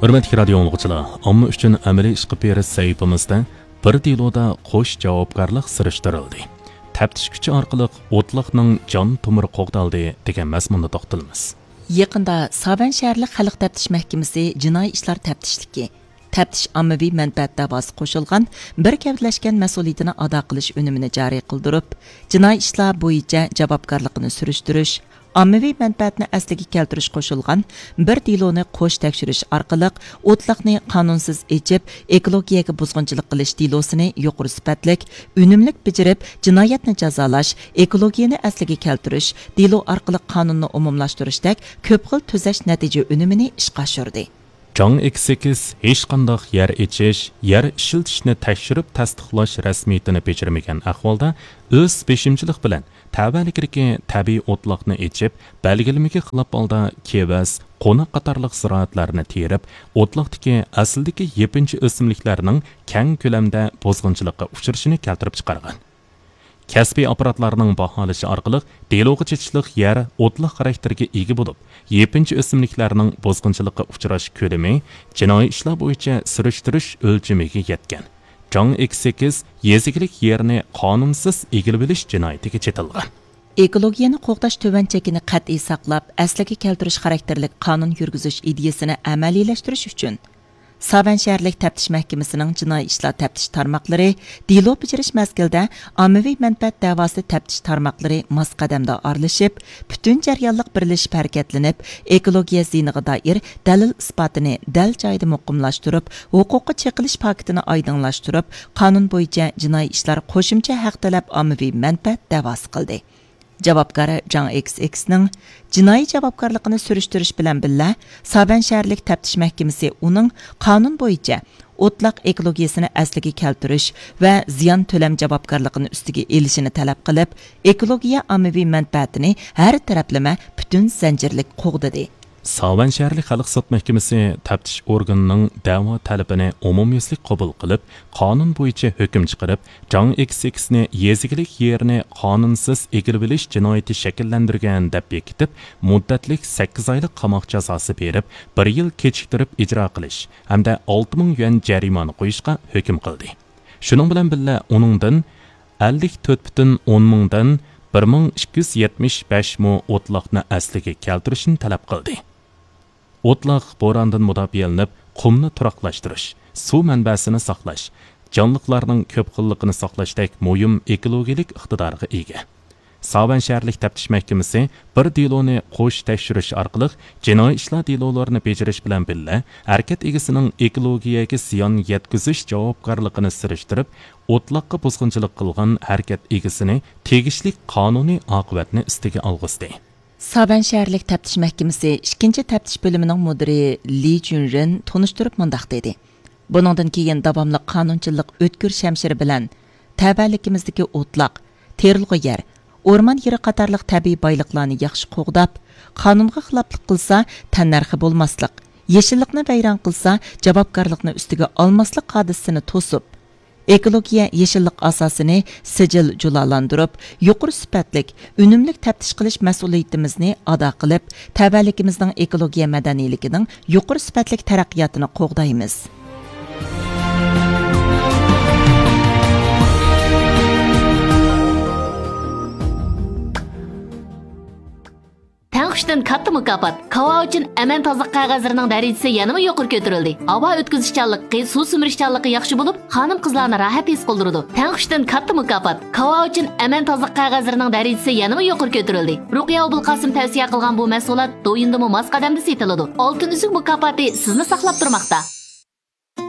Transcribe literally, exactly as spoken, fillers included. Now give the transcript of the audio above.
ھۆرمەتلىك رادىيو ئاڭلىغۇچىلار، ئامما ئۈچۈن ئەمەلىي ئىشقا پېرىش سەھىپىمىزدە بىر دېلودا قوش جاۋابكارلىق سۈرۈشتۈرۈلدى. تەپتىش كۈچى ئارقىلىق ئوتلاقنىڭ جان تومۇرى قوغدالدى دېگەن مەزمۇندا توختىلىمىز. يېقىندا ساۋەن شەھەرلىك خەلق تەپتىش مەھكىمىسى جىنايى ئىشلار تەپتىشلىكى، تەپتىش ئاممىۋى مەنپەئەت دەۋاسى قوشۇلغان بىر گەۋدىلەشكەن مەسئۇلىيىتىنى ئادا قىلىش ئۈنۈمىنى جارى قىلدۇرۇپ، جىنايى ئىشلار بويىچە جاۋابكارلىقىنى سۈرۈشتۈرۈش، ئاممىۋى مەنپەئەتنى ئەسلىگە كەلتۈرۈش قوشۇلغان بىر دېلونى قوش تەكشۈرۈش ئارقىلىق ئوتلاقنى قانۇنسىز ئېچىپ، ئېكولوگىيەگە بۇزغۇنچىلىق قىلىش دېلوسىنى يۇقىرى سۈپەتلىك، ئۈنۈملۈك بېجىرىپ، جىنايەتنى جازالاش، ئېكولوگىيەنى ئەسلىگە كەلتۈرۈش دېلو ئارقىلىق قانۇننى ئومۇملاشتۇرۇشتەك كۆپ خىل تۈزەش نەتىجە ئۈنۈمىنى ئىشقا ئاشۇردى. جاڭ ئېكس ئېكس ھېچقانداق يەر ئېچىش، يەر ئىشلىتىشنى تەكشۈرۈپ تەستىقلاش رەسمىيىتىنى بېجىرمىگەن ئەھۋالدا، ئۆز بېشىمچىلىق بىلەن تەۋەلىكىدىكى تەبىئىي ئوتلاقنى ئېچىپ، بەلگىلىمىگە خىلاپ ھالدا كېۋەز، قوناق قاتارلىق زىرائەتلەرنى تېرىپ، ئوتلاقتىكى ئەسلىدىكى يېپىنچا ئۆسۈملۈكلەرنىڭ كەڭ كۆلەمدە بۇزغۇنچىلىققا ئۇچرىشىنى كەلتۈرۈپ چىقارغان. كەسپىي ئاپپاراتلارنىڭ باھالىشى ئارقىلىق، دېلوغا چېتىشلىق يەر ئوتلاق خاراكتېرىگە ئىگە بولۇپ، يېپىنچا ئۆسۈملۈكلەرنىڭ بۇزغۇنچىلىققا ئۇچراش كۆلىمى جىنايى ئىشلار بويىچە سۈرۈشتۈرۈش ئۆلچىمىگە يەتكەن. جاڭ ئېكس ئېكس يېزا ئىگىلىك يېرىنى قانۇنسىز ئىگىلىۋېلىش جىنايىتىگە چېتىلغان. ئېكولوگىيەنى قوغداش تۆۋەن چېكىنى قەتئىي ساقلاپ، ئەسلىگە كەلتۈرۈش خاراكتېرلىك قانۇن يۈرگۈزۈش ئىدىيىسىنى ئەمەلىيلەشتۈرۈش ئۈچۈن، ساۋەن شەھەرلىك تەپتىش مەھكىمىسىنىڭ جىنايى ئىشلار تەپتىش تارماقلىرى دېلو بېجىرىش مەزگىلىدە ئاممىۋى مەنپەئەت دەۋاسى تەپتىش تارماقلىرى ماس قەدەمدە ئارىلىشىپ، پۈتۈن جەريانلىق بىرلىشىپ ھەرىكەتلىنىپ، ئېكولوگىيە زىيىنىغا دائىر دەلىل ئىسپاتىنى دەل جايىدا مۇقىملاشتۇرۇپ، ھوقۇققا چېقىلىش پاكىتىنى ئايدىڭلاشتۇرۇپ، قانۇن بويىچە جىنايى ئىشلار قوشۇمچە ھەق تەلەپ ئاممىۋى مەنپەئەت دەۋاسى قىلدى. جاۋابكار جاڭ ئېكس ئېكسنىڭ جىنايى جاۋابكارلىقىنى سۈرۈشتۈرۈش بىلەن بىللە، ساۋەن شەھەرلىك تەپتىش مەھكىمىسى ئۇنىڭ قانۇن بويىچە ئوتلاق ئېكولوگىيەسىنى ئەسلىگە كەلتۈرۈش ۋە زىيان تۆلەم جاۋابكارلىقىنى ئۈستىگە ئېلىشىنى تەلەپ قىلىپ، ئېكولوگىيە ئاممىۋى مەنپەئەتىنى ھەر تەرەپلىمە پۈتۈن زەنجىرلىك قوغدىدى. ساۋەن شەھەرلىك خەلق سوت مەھكىمىسى تەپتىش ئورگىنىنىڭ دەۋا تەلىپىنى ئومۇميۈزلۈك قوبۇل قىلىپ، قانۇن بويىچە ھۆكۈم چىقىرىپ، جاڭ ئېكس ئېكسنى يېزا ئىگىلىك يېرىنى قانۇنسىز ئىگىلىۋېلىش جىنايىتى شەكىللەندۈرگەن دەپ بېكىتىپ، مۇددەتلىك سەككىز ئايلىق قاماق جازاسى بېرىپ، بىر يىل كېچىكتۈرۈپ ئىجرا قىلىش ھەمدە ئالتە مىڭ يۈەن جەرىمانە قويۇشقا ھۆكۈم قىلدى. شۇنىڭ بىلەن بىللە، ئۇنىڭدىن ئەللىك تۆت پۈتۈن ئون مىڭدىن بىر مىڭ ئىككى يۈز يەتمىش بەش مو ئوتلاقنى ئەسلىگە كەلتۈرۈشنى تەلەپ قىلدى. ئوتلاق بوراندىن مۇداپىئەلىنىپ، قۇمنى تۇراقلاشتۇرۇش، سۇ مەنبەسىنى ساقلاش، جانلىقلارنىڭ كۆپ خىللىقىنى ساقلاشتەك مۇھىم ئېكولوگىيەلىك ئىقتىدارغا ئىگە. ساۋەن شەھەرلىك تەپتىش مەھكىمىسى بىر دېلونى قوش تەكشۈرۈش ئارقىلىق جىنايى ئىشلار دېلولىرىنى بېجىرىش بىلەن بىللە، ھەرىكەت ئىگىسىنىڭ ئېكولوگىيەگە زىيان يەتكۈزۈش جاۋابكارلىقىنى سۈرۈشتۈرۈپ، ئوتلاققا بۇزغۇنچىلىق قىلغان ھەرىكەت ئىگىسىنى تېگىشلىك قانۇنىي ئاقىۋەتنى ئۈستىگە ئالغۇزدى. ساۋەن شەھەرلىك تەپتىش مەھكىمىسى ئىككىنچى تەپتىش بۆلۈمىنىڭ مۇدىرى لى جۈنرېن تونۇشتۇرۇپ مۇنداق دېدى: بۇنىڭدىن كېيىن داۋاملىق قانۇنچىلىق ئۆتكۈر شەمشىرى بىلەن تەۋەلىكىمىزدىكى ئوتلاق، تېرىلغۇ يەر، ئورمان يېرى قاتارلىق تەبىئىي بايلىقلارنى ياخشى قوغداپ، قانۇنغا خىلاپلىق قىلسا، تەننەرخى بولماسلىق، يېشىللىقنى ۋەيران قىلسا، جاۋابكارلىقنى ئۈستىگە ئالماسلىق ھادىسىسىنى توسۇپ، ئېكولوگىيە يېشىللىق ئاساسىنى سىجىل جۇلالاندۇرۇپ، يۇقىرى سۈپەتلىك، ئۈنۈملۈك تەپتىش قىلىش مەسئۇلىيىتىمىزنى ئادا قىلىپ، تەۋەلىكىمىزنىڭ ئېكولوگىيە مەدەنىيلىكىنىڭ يۇقىرى سۈپەتلىك تەرەققىياتىنى قوغدايمىز. تەڭ كۈچتىن كاتتا مۇكاپات. كاۋاۋىچىن ئەمەن تازىلىق قەغەزلىرىنىڭ دەرىجىسى يەنىمۇ يۇقىرى كۆتۈرۈلدى. ھاۋا ئۆتكۈزۈشچانلىقى، سۇ سۈمۈرۈشچانلىقى ياخشى بولۇپ، خانىم-قىزلارنى راھەت ھېس قىلدۇرىدۇ. تەڭ كۈچتىن كاتتا مۇكاپات. كاۋاۋىچىن ئەمەن تازىلىق قەغەزلىرىنىڭ دەرىجىسى يەنىمۇ يۇقىرى كۆتۈرۈلدى. رۇقىيە ئوبۇلقاسىم تەۋسىيە قىلغان بۇ مەھسۇلات دويىندىمۇ ماس قەدەمدە سېتىلىدۇ. ئالتۇن ئۈزۈك مۇكاپاتى سىزنى ساقلاپ تۇرماقتا.